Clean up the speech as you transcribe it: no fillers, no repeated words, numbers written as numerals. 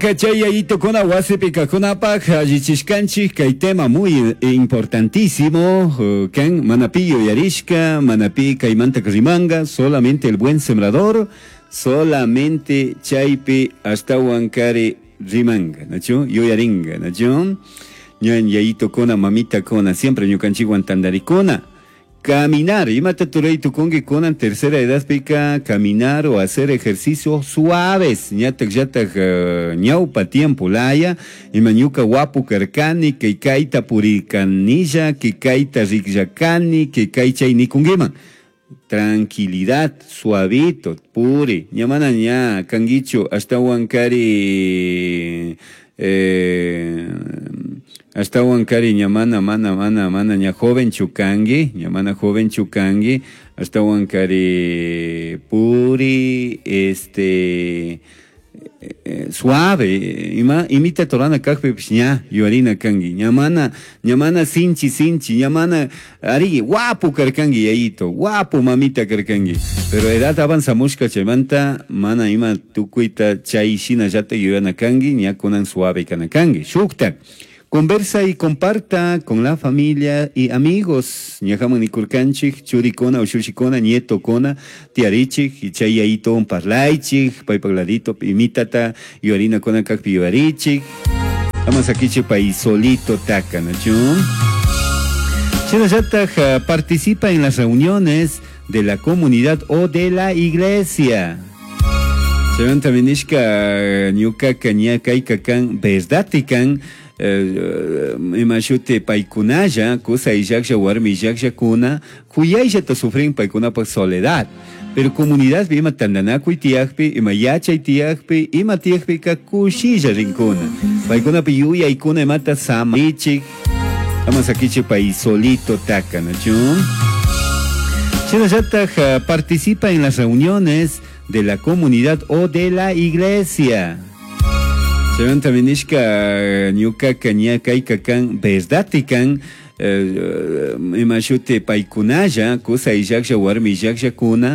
Chay yayitokuna wasipi kajkunapaj allichishkanchik kay tema muy importantísimo kan mana pi yuyarishka mana pi kaymanta rimanga solamente el buen sembrador solamente chaypi ashtawan kari rimanga nachu yuyaringa nachu ñan yayitokuna mamitakuna siempre ñukanchikwan tandarikuna. Caminar, imata turay tukunki kunan tercera edadpika caminar o hacer ejercicios suaves, ñatak llatak ñawpa tiempo laya, ima ñuka wapu karkani, kay kayta purikanilla, kay kayta rikllakani, kay kay chay nikunkiman. Tranquilidad, suavito, puri, ña mana ña kankichu ashtawan kari ashtawan kari ña mana mana mana mana ña jovenchu kanki, ña mana jovenchu kanki, ashtawan kari puri este suave, ima imita torana kajpipish ña yuyarina kanki, ña mana ña mana sinchi sinchi, ña mana ari guapo karkanki yayito, guapo mamita karkanki, pero edad avanzamushka chaymanta mana ima tukuyta chay shinallata yuyana kanki, ña kunan suave kana kanki. Shuktak conversa y comparta con la familia y amigos. Ñajaman nikurkanchik, churikuna, ushushikuna, nietokuna, tiyarichik, chay yayito parlaychik, paypak ladito, imitata, yuyarinakuna kakpi yuyarichik. Ama sakichik pay solito taka, ¿nachu? Shinallatak participa en las reuniones de la comunidad o de la iglesia. Chaymanta nishka ñukaka ña kayka kan verdadti kan ima shuti paykunalla kusa illaklla warmi illakllakuna kuyayllata sufrin paykunapak soledad. Pero comunidadpi ima tantanakuy tiyakpi ima yachay tiyakpi ima tiyakpika kushilla rinkuna paykunapi yuyaykuna imata samarichik ama sakichik pay solito taka, ¿nachu? Shinallatak participa en las reuniones de la comunidad o de la iglesia. Chaymanta nishka ñukaka ña kayka kan verdadti kan ima shuti paykunalla kusa illaklla warmi illakllakuna.